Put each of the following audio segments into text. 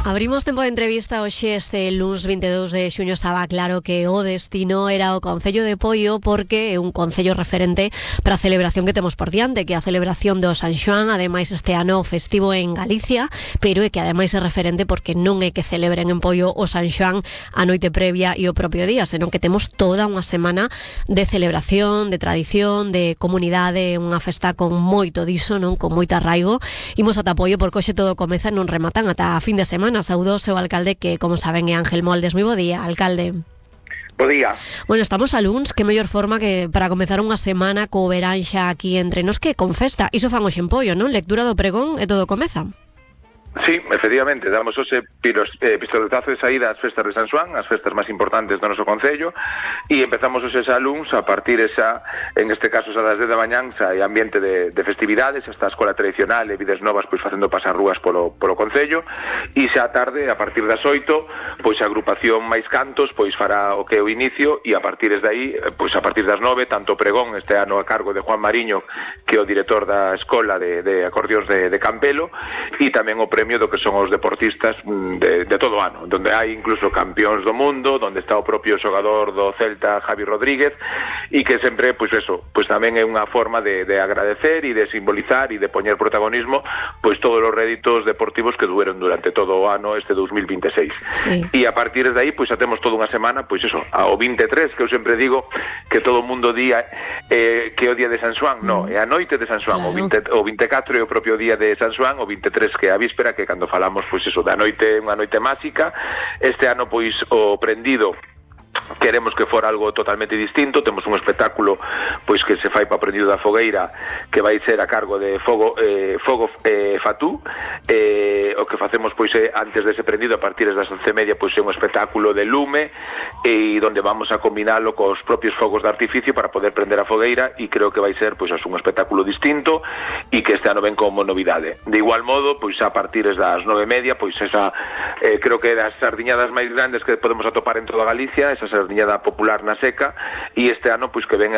Abrimos tempo de entrevista hoxe. Este luns 22 de xuño estaba claro que o destino era o Concello de Poio, porque é un concello referente para a celebración que temos por diante, que é a celebración do San Xoán, ademais este ano festivo en Galicia, pero é que ademais é referente porque non é que celebren en Poio o San Xoán a noite previa e o propio día, senón que temos toda unha semana de celebración, de tradición, de comunidade, unha festa con moito diso, non, con moito arraigo. Imos ata Poio porque hoxe todo comeza e non rematan ata a fin de semana. Saúdos ao alcalde, que, como saben, é Ángel Moldes. Moi bo día, alcalde. Bo día. Bueno, estamos a luns, que mellor forma que para comezar unha semana co verán xa aquí entre nos, que con festa. Iso fan hoxe en Poio, non? Lectura do pregón e todo comeza. Sí, efectivamente, damos hoxe pistoletazo de saída ás festas de San Xoán, as festas máis importantes do noso concello, e empezamos hoxe xa luns a partir esa, en este caso xa das 10 da mañán, xa hai ambiente de festividades, hasta a escola tradicional e vides novas pois facendo pasar rúas polo concello, e xa a tarde, a partir das 8, pois a agrupación máis cantos pois fará o que é o inicio, e a partir de aí, pois a partir das 9, tanto o pregón este ano a cargo de Juan Mariño, que é o director da escola de acordeóns de Campelo, e tamén o premio do que son os deportistas de todo o ano, donde hai incluso campións do mundo, donde está o propio xogador do Celta, Javi Rodríguez, e que sempre, pois eso, pois tamén é unha forma de agradecer e de simbolizar e de poñer protagonismo pois todos os réditos deportivos que dueron durante todo o ano este 2026. Sí. E a partir de aí, pois xa temos toda unha semana, pois eso, ao 23, que eu sempre digo que todo o mundo día que é o día de San Xoán, no, é a noite de San Xoán, claro. O 24 é o propio día de San Xoán, o 23 que é a víspera, que cando falamos, pois eso, da noite, unha noite máxica. Este ano, pois, o prendido queremos que fora algo totalmente distinto. Temos un espectáculo pois que se fai para o prendido da fogueira, que vai ser a cargo de Fogo Fatú. O que facemos pois é, antes dese prendido, a partir das 11:30, pois é un espectáculo de lume, e onde vamos a combinalo cos propios fogos de artificio para poder prender a fogueira, e creo que vai ser pois un espectáculo distinto e que este ano ven como novidade. De igual modo, pois a partir das 9:30, pois esa creo que é das sardiñadas máis grandes que podemos atopar en toda Galicia, esa sardiñada popular na seca, e este ano pois que ven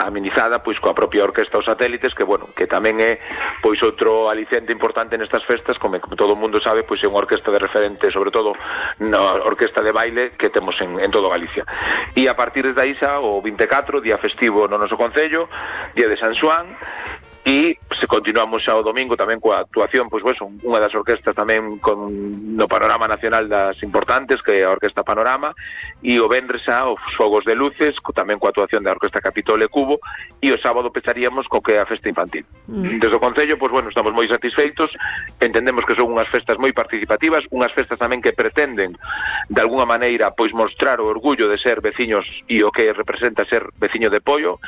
amenizada pois coa propia orquesta Os Satélites, que bueno, que tamén é pois outro aliciente importante nestas festas, como todo o mundo sabe, pois é unha orquesta de referente, sobre todo na orquesta de baile que temos en todo Galicia. E a partir de aí xa o 24, día festivo no noso concello, día de San Xoán, e se continuamos xa o domingo tamén coa actuación, pois unha das orquestas tamén no panorama nacional das importantes, que é a Orquesta Panorama, e o venres xa os fogos de luces, tamén coa actuación da Orquesta Capitol e Cubo, e o sábado pecharíamos co que é a festa infantil. Desde o Concello, pois estamos moi satisfeitos, entendemos que son unhas festas moi participativas, unhas festas tamén que pretenden de alguna maneira pois mostrar o orgullo de ser veciños e o que representa ser veciño de Poio.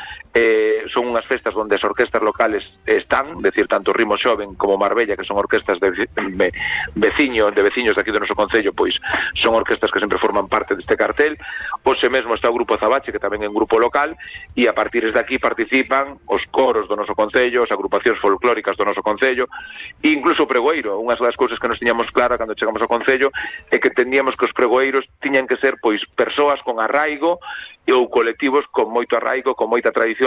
Son unhas festas onde as orquestas locales están, decir, tanto Rimo Xoven como Marbella, que son orquestas de veciños de aquí do noso concello, pois son orquestas que sempre forman parte deste cartel. Hoxe mesmo está o Grupo Azabache, que tamén é un grupo local, e a partir de aquí participan os coros do noso concello, as agrupacións folclóricas do noso concello, e incluso o pregoeiro. Unhas das cousas que nos tiñamos clara cando chegamos ao concello é que teníamos que os pregoeiros tiñan que ser pois persoas con arraigo ou colectivos con moito arraigo, con moita tradición